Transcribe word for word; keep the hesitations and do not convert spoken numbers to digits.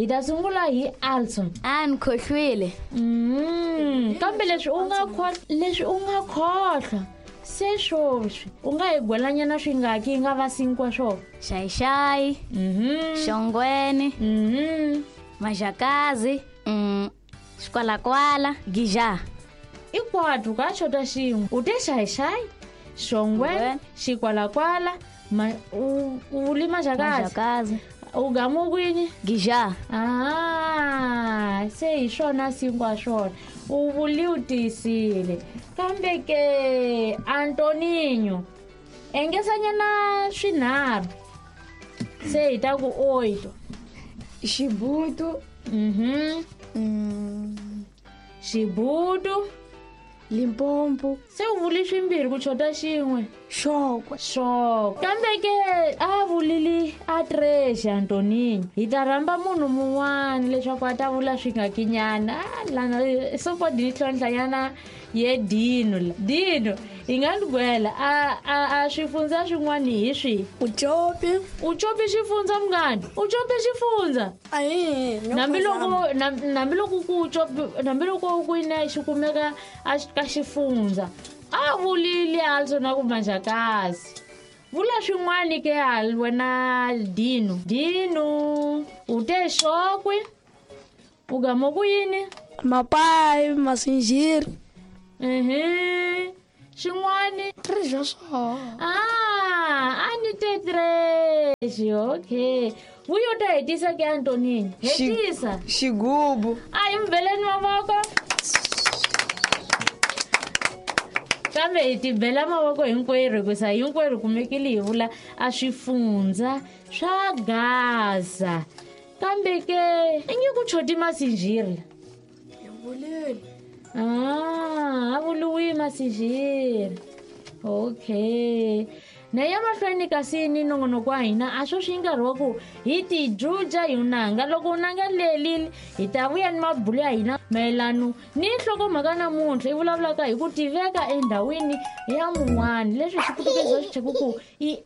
Hi ta sungula hi Alson. A ni khohlwile. Mm, kambe leswi u nga leswi u nga khohlwa se swoswi u nga hi gwelanyana swingaki yi nga va sinkwa swona? Xayixayi, Mhm. xongweni, Mhm. majakazi, mm, xikwalakwala, gija. I kwatu ka xota xin'we. U te xayixayi, xongweni, xikwalakwala, ma u u vuli majakazi. Majakazi. U gamu kwini? Gija. Ah, se hi swona sinkwa swona. U vuli u tiyisile. Kambe ke Antoninho, engesanyana swinharhu. Se hi ta ku oito. Xibutu. Mhm. Mm. Xibutu. Limpopo. Se u vuli swimbirhi ku xota xin'we. Xokwe. Xokwe. Kambe ke a vulili a tres Antoninho. Hi ta rhamba munhu mun'wana leswaku a ta vula swingakinyana. Ah, lana sopodi ni tlhontlhanyana ye Dino la. Dino, hi nga ni gwela a a a swifundza swin'wana hi swihi? Ucopi. Ucopi xifundza munghana? Ucopi xifundza? Ahi, no Hambiloko hambiloko ku ucopi, hambiloko ku ina xi kumeka a ka xifundza. A vulile also na ku majakazi. Vula swin'wana ke hal wena Dino. Dino, u te xokwe? U gama ku yini? Mapayi, masinjiri. Mhm. Xin'wani? Treasure swo. Ah, a ni te treasure. Okay. Vuyo ta hetisa ke Antonini. Hetisa. Xigubu. A hi mbeleni mavoko. Kambe hi tibela mavoko hinkwerhu hikusa hinkwerhu kumekile hi vula a swifundza swa Gaza. Kambe ke i nge ku choti masinjiri. Hi vulile. Ah, a vuliwi masinjiri. Okay. Na ya mahlweni kasi ni nongonoko wa hina a swo swi nkarhi wa ku hi tijuja hi unanga. Loko unanga lelile hi ta vuya ni mabulo ya hina mayelano ni nhlokomhaka namuntlha i vulavulaka hi ku tiveka endhawini ya mun'wana leswi xi putukezi va swi cheka ku i